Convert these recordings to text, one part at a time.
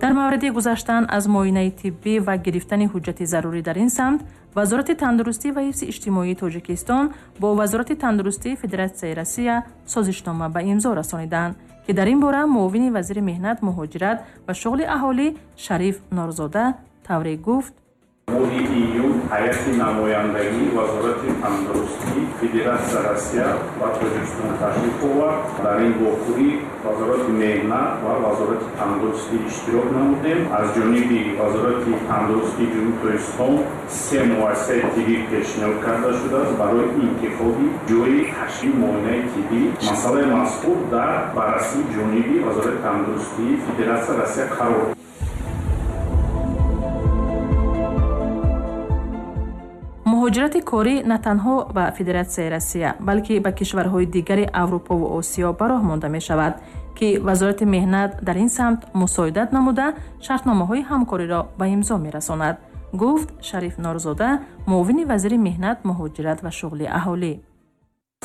Дар мавриди гузаштан аз муоинаи тиббӣ ва гирифтани ҳуҷҷати зарурӣ дар ин самт, Вазорати тандурустӣ ва ҳифзи иҷтимоии Тоҷикистон бо Вазорати тандурустии Федератсияи Россия созишнома ба имзо расониданд, ки дар ин бора муовини вазири меҳнат, муҳоҷират ва шуғли аҳолӣ Шариф Норзода тавре гуфт: Моҳи июн ҳайати намояндагии Вазорати тандурустии Федератсияи Россия ба Тоҷикистон ташриф овард. Дар ин вохӯрӣ Вазорати меҳнат ва Вазорати тандурустӣ иштирок намудем. Аз ҷониби Вазорати тандурустии Ҷумҳурии Тоҷикистон се муассисаи тиббӣ пешниҳод карда шудааст барои интихоби ҷойи ташкили муоинаи тиббӣ. Масъалаи мазкур дар баррасии ҷониби Вазорати тандурустии Федератсияи Россия қарор. Муҳоҷирати корӣ на танҳо ба Федератсияи Россия, балки ба кишварҳои дигари Аврупову Осиё ба роҳ монда мешавад, ки Вазорати меҳнат дар ин самт мусоидат намуда шартномаҳои ҳамкориро ба имзо мерасонад, гуфт Шариф Норзода, муовини вазири меҳнат, муҳоҷират ва шуғли аҳолӣ.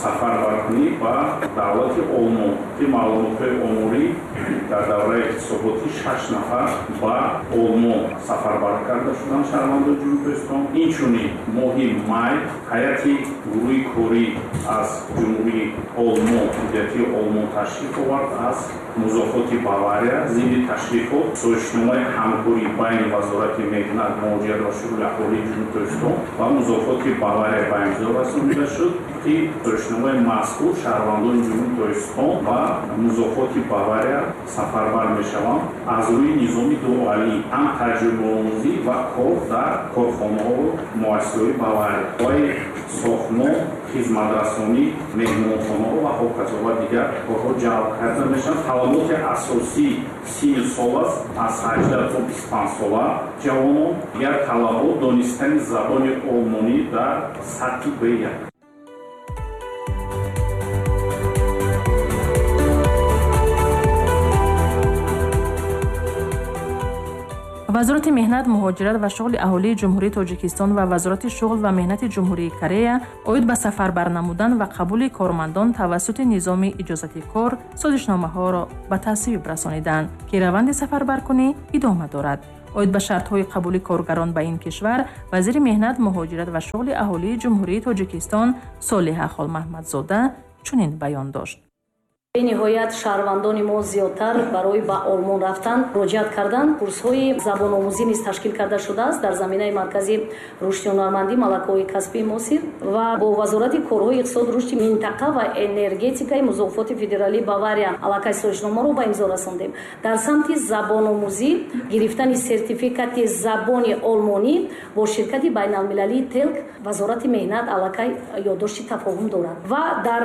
Сафарбаркунӣ ба давлати Олмон, ки маълумотҳои оморӣ дар давраи ҳисоботӣ 6 нафар ба Олмон сафарбар карда шуданд шаҳрвандони Ҷумҳурии Тоҷикистон. Инчунин моҳи май ҳайати гурӯҳи корӣ аз Ҷумҳурии Олмон, Федератсияи Олмон ташриф овард аз музофоти Бавария. Зимни ташрифот созишномаи ҳамкорӣ байни Вазорати меҳнат, муҳоҷират ва шуғли аҳолии Ҷумҳурии Тоҷикистон ва музофоти Бавария ба имзо расонида шуд, ки созишномаи мазкур шаҳрвандони Ҷумҳурии Тоҷикистон ба музофоти Бавария сафарбар мешаванд аз рӯи низоми дуалӣ, ҳам таҷрибаомӯзӣ ва кор дар корхонаҳову муассисаҳои Бавария, соҳаи сохтмон, хизматрасонӣ, меҳмонхонаҳо ва ҳоказо ва дигар корҳо ҷалб карда мешаванд. Талаботи асосӣ синну сол аст, аз 18 то 25 сола ҷавонон. Дигар талабот донистани забони олмонӣ дар сатҳи Б1. Вазорати меҳнат, муҳоҷират ва шуғли аҳолии Ҷумҳурии Тоҷикистон ва Вазорати шуғл ва меҳнати Ҷумҳурии Корея оид ба сафарбар намудан ва қабули кормандон тавассути низоми иҷозати кор созишномаҳоро ба тасвиб расониданд, ки раванди сафарбаркунӣ идома дорад. Оид ба шартҳои қабули коргарон ба ин кишвар вазири меҳнат, муҳоҷират ва шуғли аҳолии Ҷумҳурии Тоҷикистон Солиҳа Холмаҳмадзода чунин баён дошт. Бениҳоят шаҳрвандони мо зиёдтар барои ба Олмон рафтан муроҷиат карданд. Курсҳои забономӯзӣ низ ташкил карда шудааст дар заминаи маркази рушди ҳунармандӣ, малакаҳои касбии муосир ва бо Вазорати корҳои иқтисод, рушди минтақа ва энергетикаи музофоти федералии Бавария аллакай созишномаро ба имзо расондем. Дар самти забономӯзӣ гирифтани сертификати забони олмонӣ бо ширкати байналмилалии Телк Вазорати меҳнат аллакай ёддошти тафоҳум дорад ва дар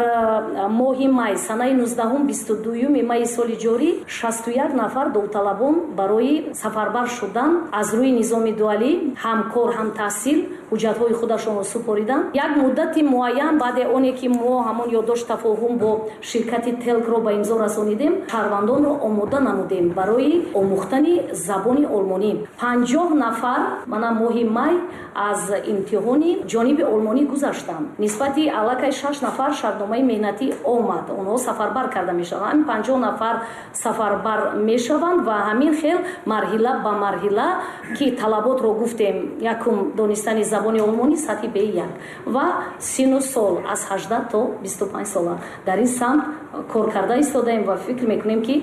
моҳи май санаи 19-22 майи соли ҷорӣ 61 нафар довталабон барои сафарбар шудан аз рӯи низоми дуалӣ ҳам кор ҳам таҳсил ҳуҷҷатҳои худашонро супориданд. Як муддати муайян баъде оне ки мо ҳамон ёддошт тафоҳум бо ширкати Телкро ба имзо расонидем, шаҳрвандонро омода намудем барои омӯхтани забони олмонӣ. 50 нафар мана моҳи май аз имтиҳони ҷониби олмонӣ гузаштанд. Нисбати аллакай 6 нафар шартномаи меҳнатӣ омад, онҳо сафарбар карда мешаванд. Ҳамин 50 нафар сафарбар мешаванд ва ҳамин хел марҳила ба марҳила ки талаботро гуфтем, якум донистани забони олмонӣ сатҳи Б1 ва сину сол аз 18 то 25 сола. Дар ин самт кор карда истодаем ва фикр мекунем ки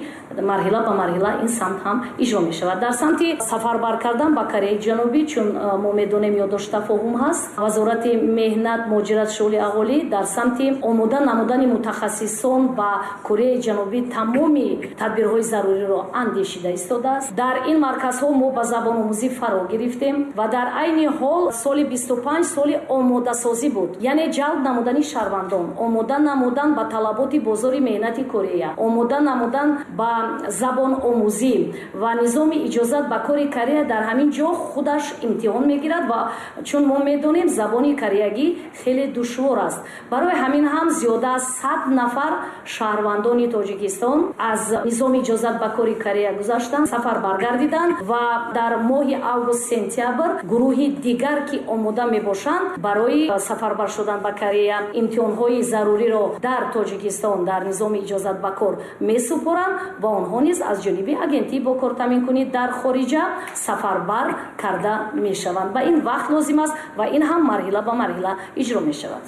марҳила ба марҳила ин самт ҳам иҷро мешавад. Дар самти сафарбар кардан ба Кореяи Ҷанубӣ, чун мо медонем ёддошт тафоҳум ҳаст, Вазорати меҳнат, муҳоҷират, шуғли аҳолӣ дар самти омода намудани мутахассисон ба Кореяи Ҷанубӣ тамоми тадбирҳои заруриро андешида истодааст. Дар ин марказҳо мо ба забономӯзӣ фаро гирифтем ва дар айни ҳол соли 25 соли омодасозӣ буд, яъне ҷалб намудани шаҳрвандон, омода намудан ба талаботи бозори меҳнати Корея, омода намудан ба забономӯзӣ ва низоми иҷозат ба кори Корея дар ҳамин ҷо худаш имтиҳон мегирад ва чун мо медонем забони кореягӣ хеле душвор аст. Барои ҳамин ҳам зиёда аз 100 нафар шаҳрвандони Тоҷикистон аз низоми иҷозат ба кори Корея гузаштанд, сафар баргардиданд ва дар моҳи август сентябр гурӯҳи дигар ки омода мебошанд барои сафарбар шудан ба Корея, имтиҳонҳои заруриро дар Тоҷикистон дар низоми иҷозат ба кор месупоранд ва онҳо низ аз ҷониби агентии бо кор таъминкунӣ дар хориҷа сафарбар карда мешаванд. Ба ин вақт лозим аст ва ин ҳам марҳила ба марҳила иҷро мешавад.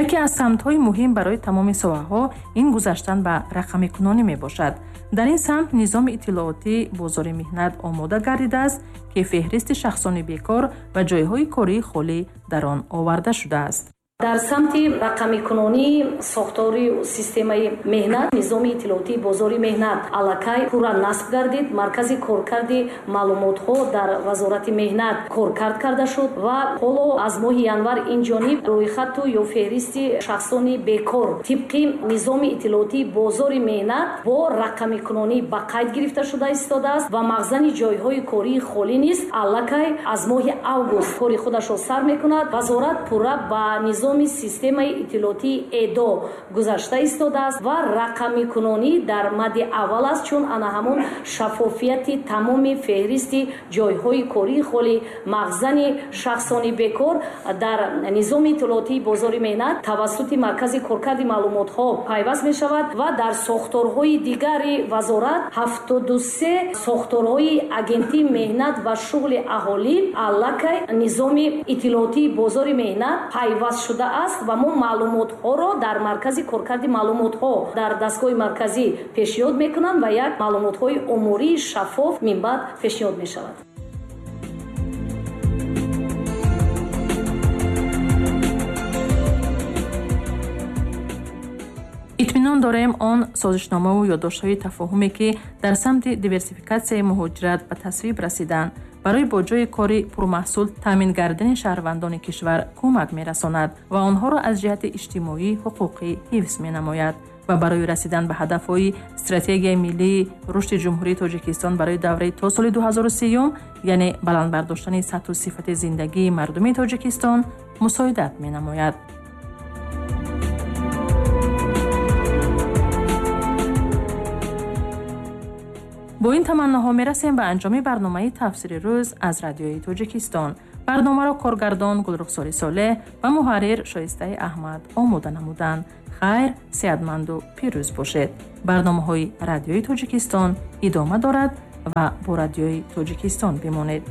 Яке аз самтҳои муҳим барои тамоми соҳаҳо ин гузаштан ба рақамикунонӣ мебошад. Дар ин самт низоми иттилоотӣ бозори меҳнат омода гардидааст, ки феҳристи шахсони бекор ва ҷойҳои кории холӣ дар он оварда шудааст. Дар самти рақамикунонии сохтори системаи меҳнат низоми иттилоотии бозори меҳнат аллакай пурра насб гардид. Маркази коркарди маълумотҳо дар Вазорати меҳнат коркард карда шуд ва ҳоло аз моҳи январ ин ҷониб рӯйхату ё феҳристи шахсони бекор тибқи низоми иттилоотии бозори меҳнат бо рақамикунонӣ ба қайд гирифта шуда истодааст ва мағзани ҷойҳои кории холӣ низ аллакай аз моҳи август кори худашро сар мекунад. Вазорат пурра ба низоми системаи иттилоотии ЭДО гузашта истодааст ва рақамикунонӣ дар мадди аввал аст, чун ана ҳамон шаффофияти тамоми феҳристи ҷойҳои кории холӣ, мағзани шахсони бекор дар низоми иттилоотии бозори меҳнат тавассути маркази коркарди маълумотҳо пайваст мешавад ва дар сохторҳои дигари вазорат 73 сохторҳои агентии меҳнат ва шуғли аҳолӣ аллакай низоми иттилоотии бозори меҳнат пайваст шуда аст ва мо маълумотҳоро дар маркази коркарди маълумотҳо дар дастгоҳи марказӣ пешниҳод мекунанд ва як маълумотҳои омории шаффоф минбаъд пешниҳод мешавад. Итминон дорем, он созишномаву ёддоштҳои тафоҳуме, ки дар самти диверсификатсияи муҳоҷират ба тасвиб расиданд, барои бо ҷойи кори пурмаҳсул таъмин гардидани шаҳрвандони кишвар кӯмак мерасонад ва онҳоро аз ҷиҳати иҷтимоӣ ҳуқуқӣ ҳифз менамояд ва барои расидан ба ҳадафҳои стратегияи миллии рушди Ҷумҳурии Тоҷикистон барои давраи то соли 2030, яъне баланд бардоштани сатҳу сифати зиндагии мардуми Тоҷикистон мусоидат менамояд. Бо ин таманноҳо мерасем ба анҷоми барномаи тафсири рӯз аз Радиои Тоҷикистон. Барномаро коргардон Гулрухсори Солеҳ ва муҳаррир Шоистаи Аҳмад омода намуданд. Хайр, сеҳатманду пирӯз бошед. Барномаҳои Радиои Тоҷикистон идома дорад ва бо Радиои Тоҷикистон бимонед.